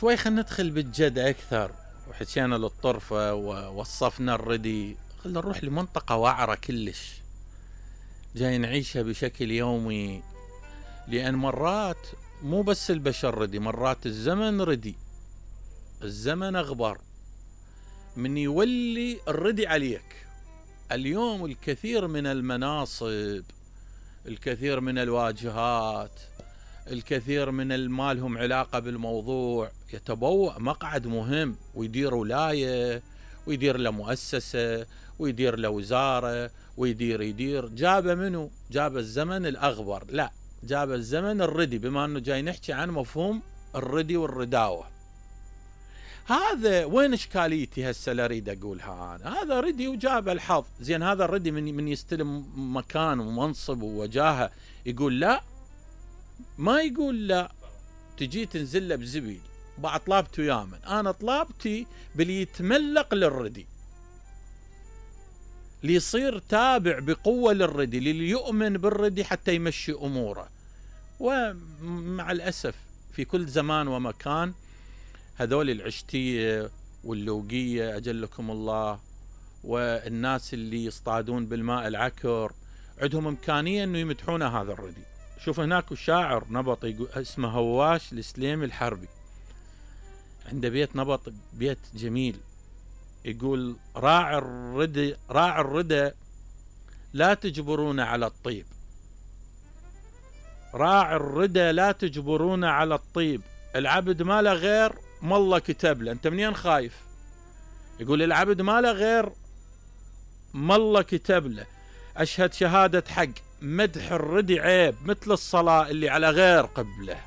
شوي خلينا ندخل بالجد أكثر، وحكينا للطرفة ووصفنا الردي. خلينا نروح لمنطقة وعرة كلش جاي نعيشها بشكل يومي، لأن مرات مو بس البشر ردي، مرات الزمن ردي، الزمن أغبر من يولي الردي عليك. اليوم الكثير من المناصب، الكثير من الواجهات، الكثير من المالهم علاقة بالموضوع يتبوأ مقعد مهم ويدير ولاية ويدير له مؤسسة ويدير له وزارة ويدير جاب منه؟ جاب الزمن الأغبر؟ لا، جاب الزمن الردي، بما أنه جاي نحكي عن مفهوم الردي والرداوة. هذا وين إشكاليتي هسه اللي أريد أقولها أنا؟ هذا ردي وجاب الحظ. زين هذا الردي من يستلم مكان ومنصب ووجاهة يقول لا؟ ما يقول لا. تجي تنزل له بزبيل بعد طلبت ويامن، أنا طلبتي باللي يتملق للردي، ليصير تابع بقوة للردي، للي يؤمن بالردي حتى يمشي أموره. ومع الأسف في كل زمان ومكان هذول العشتية واللوقية أجلكم الله، والناس اللي يصطادون بالماء العكر عندهم إمكانية أنه يمدحون هذا الردي. شوف هناك الشاعر نبط اسمه هواش السليمي الحربي، عنده بيت نبط، بيت جميل، يقول راعي الردى لا تجبرون على الطيب، راعي الردى لا تجبرون على الطيب، العبد ما له غير ما الله كتب له. انت منين خايف؟ يقول العبد ما له غير ما الله كتب له، اشهد شهادة حق مدح الردي عيب مثل الصلاة اللي على غير قبله.